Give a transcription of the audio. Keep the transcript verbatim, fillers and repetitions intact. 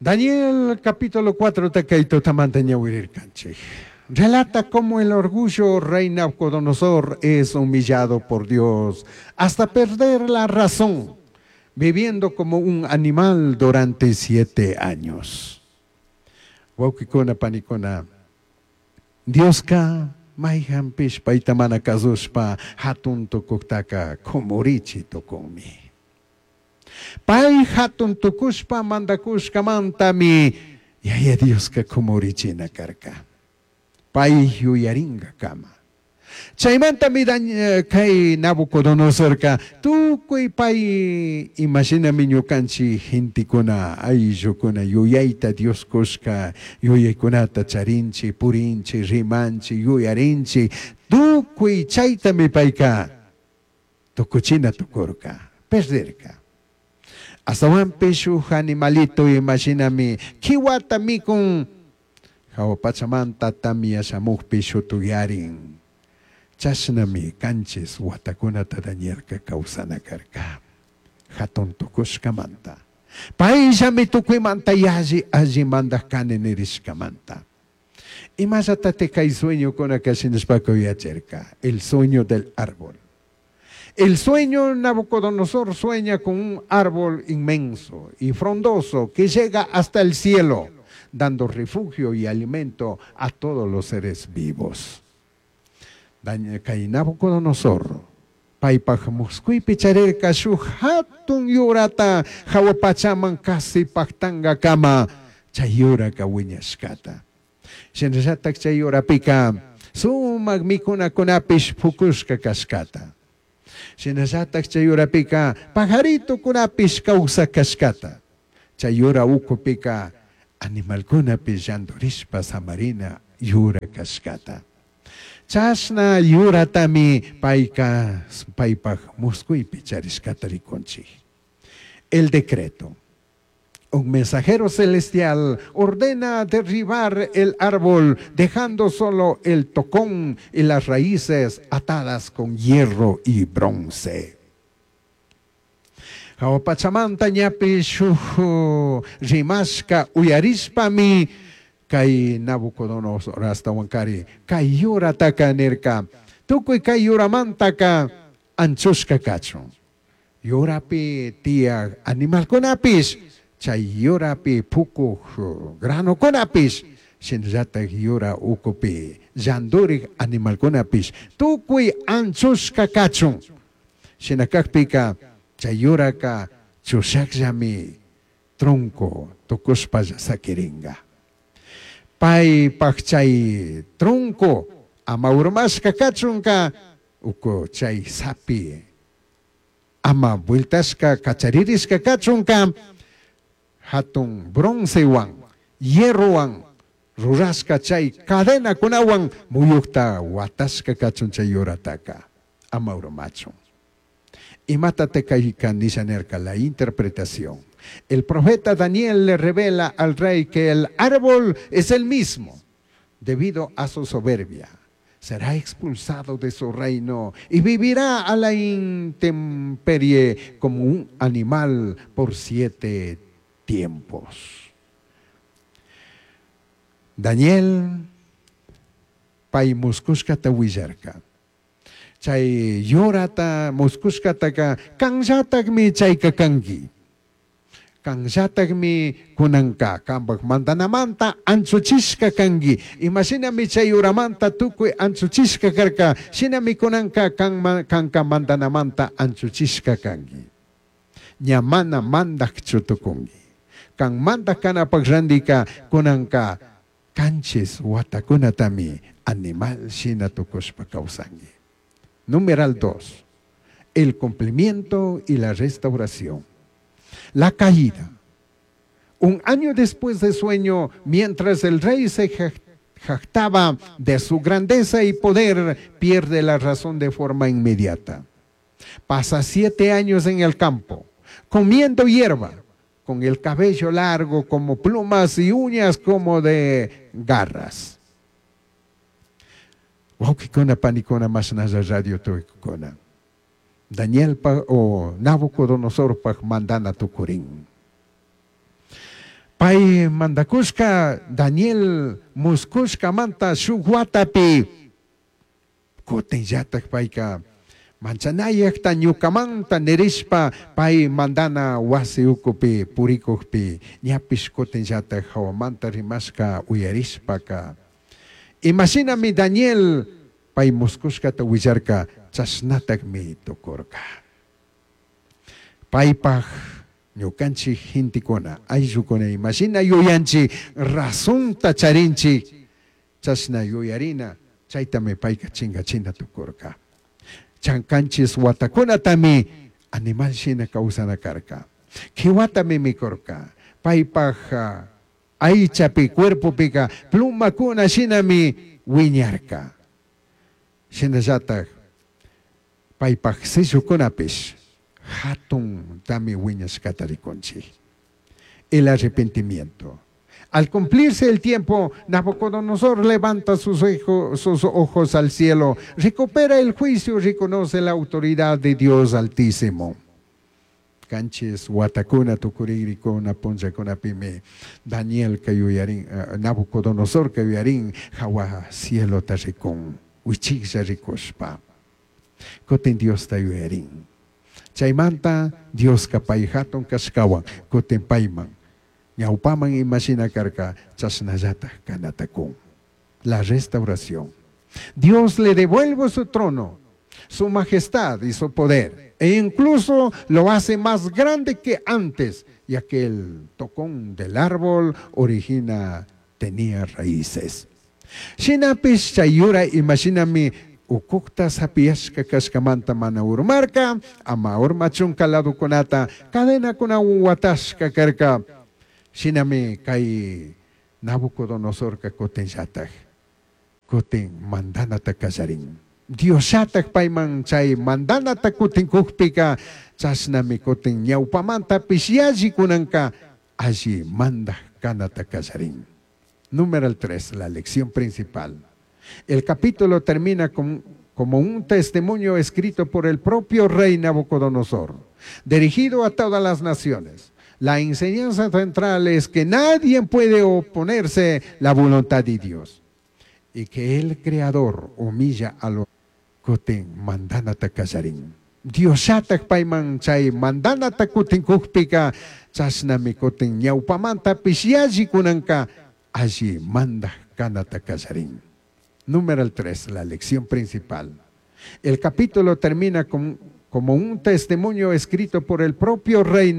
Daniel capítulo cuatro kay tutamanta ñawirirkanchik. Relata cómo el orgullo rey Nabucodonosor es humillado por Dios hasta perder la razón, viviendo como un animal durante siete años. Wawqikuna panikuna, Dioska mayhanpish payta mana kasushpa hatun tukuktaka kumurichi tukunmi. Pay hatun tukushpa mandakushkamantami Yaya Dioska kumurichina karka. Pay yuyaringakama. Chaymantami kay Nabucodonosorka tukuy pay imashinami ñukanchik gentekuna ayllukuna yuyayta Dios kushka yuyaykunata charinchik, purinchik, rimanchik, yuyarinchik, tukuy chaytami payka tukuchina tukurka, perderka. Astawanpish shuk animalito imashinami kiwata mikun hawa pachamanta tamya shamukpi shutuyarin. Chashnami kanchis watakunata Danielka kawsana karka. Hatun tukushkamanta. Payllami tukuymanta yalli alli mandak kani nirishkamanta. Imallatate kay sueñokunaka shinashpaka yacharka. El sueño del árbol. El sueño, Nabucodonosor sueña con un árbol inmenso y frondoso que llega hasta el cielo, dando refugio y alimento a todos los seres vivos. Kay Nabucodonosor paypaj muskuypi charirka shuk hatun yurata hawa pachaman kasi pactangakama chay yuraka wiñashkata. Shinallatak chay yurapika sumak mikunakunapish pukushka kashkata. Shinallatak chay yurapika pajaritokunapish kawsak kashkata. Chay yura ukupika animalkunapish llandurishpa samarina yura kashkata. Chashna yuratami payka paypaj muskuypi charishkata rikunchik. El decreto. Un mensajero celestial ordena derribar el árbol, dejando solo el tocón y las raíces atadas con hierro y bronce. Hawa pachamanta ñapish shuk rimashka uyarishpami kay Nabucodonosor ashtawankari kay yurataka nirka tukuy kay yuramantaka anchushka kachun. Yurapi tiyak animalkunapish chay yurapi pukuk granokunapish shinallatak yura ukupi llandurik animalkunapish tukuy anchushka kachun. Shina kakpika chay yuraka chushakllami tronco tukushpalla sakiringa. Paypaj chay tronco ama urmashka kachunka uku chay sapi ama vueltashka kacharirishka kachunka hatun broncewan hierrowan rurashka chay cadenakunawan muyukta watashka kachun chay yurataka ama urmachun. Imata kayka nisha nirka la interpretación. El profeta Daniel le revela al rey que el árbol es el mismo debido a su soberbia. Será expulsado de su reino y vivirá a la intemperie como un animal por siete tiempos. Daniel pay muskushkata willarka. Chay yurata muskushkataka kanllatakmi chayka kanki. Kanllatakmi kunanka kanpak mandanamanta anchuchishka kanki. Imashinami chay yuramanta tukuy anchuchishka karka, shinami kunanka kanka mandanamanta anchuchishka kanki. Ña mana mandakchu tukunki. Kan mandak kanapak randika kunanka kanchis watakunatami animal shina tukushpa kawsanki. Numeral dos. El cumplimiento y la restauración. La caída. Un año después de sueño, mientras el rey se jactaba de su grandeza y poder, pierde la razón de forma inmediata. Pasa siete años en el campo, comiendo hierba, con el cabello largo como plumas y uñas como de garras. Wawqikuna panikuna mashnalla radio tuykuna. Daniel pa o Nabucodonosor pa mandana tukurin. Pay mandakushka Daniel muskushkamanta shuk watapi kutinllatak payka manchanayakta ñukamanta nirishpa pay mandana wasi ukupi purikukpi ñapish kutinllatak hawamanta rimashka uyarishpaka imashinami Daniel pay muskushkata willarka chashnatakmi tukurka. Paypaj ñukanchik gentekuna ayllukuna imashina yuyanchik razonta charinchik chashna yuyarina chaytami payka chinkachina tukurka. Chankanchis watakunatami animal shina kawsana karka. Kiwatami mikurka. Paypaj aychapi cuerpopika plumakuna shinami wiñarka. Shinallatak paypaj sillukunapish hatun tami wiñashkata rikunchik. El arrepentimiento. Al cumplirse el tiempo, Nabucodonosor levanta sus, sus ojos al cielo, recupera el juicio, reconoce la autoridad de Dios Altísimo. Kanchis watakuna tukuririkuna punllakunapimi Daniel kayuyarin, uh, Nabucodonosor kayuyarin, hawa cielo rikun, wichiklla rikushpa. Kutin Diosta yuyarin. Chaymanta Dioska pay hatun kashkawan, kutin payman. Ñawpaman imashina karka chashnallatak kanatakun. La restauración. Dios le devuelve su trono, su majestad y su poder. E incluso lo hace más grande que antes, ya que el tocón del árbol origina tenía raíces. Shinapish chay yura imashinami ukukta sapiyashka kashkamanta mana urmarka, ama urmachunka ladukunata cadenakunawan watashka karka. Shinami kay Nabucodonosorka kutinllatak, kutin mandanata kallarin. Diosllatak payman chay mandanata kutin kukpika, chashnami kutin ñawpamantapish yalli kunanka alli mandak kanata kallarin. Número tres, la lección principal. El capítulo termina con, como un testimonio escrito por el propio rey Nabucodonosor, dirigido a todas las naciones. La enseñanza central es que nadie puede oponerse la voluntad de Dios y que el Creador humilla a los kutin mandanata kallarin. Diosllatak payman chay mandanata kutin kukpika, chashnami kutin ñawpamantapish yalli kunanka alli mandak kanata kallarin. Número tres, la lección principal. El capítulo termina con, como un testimonio escrito por el propio rey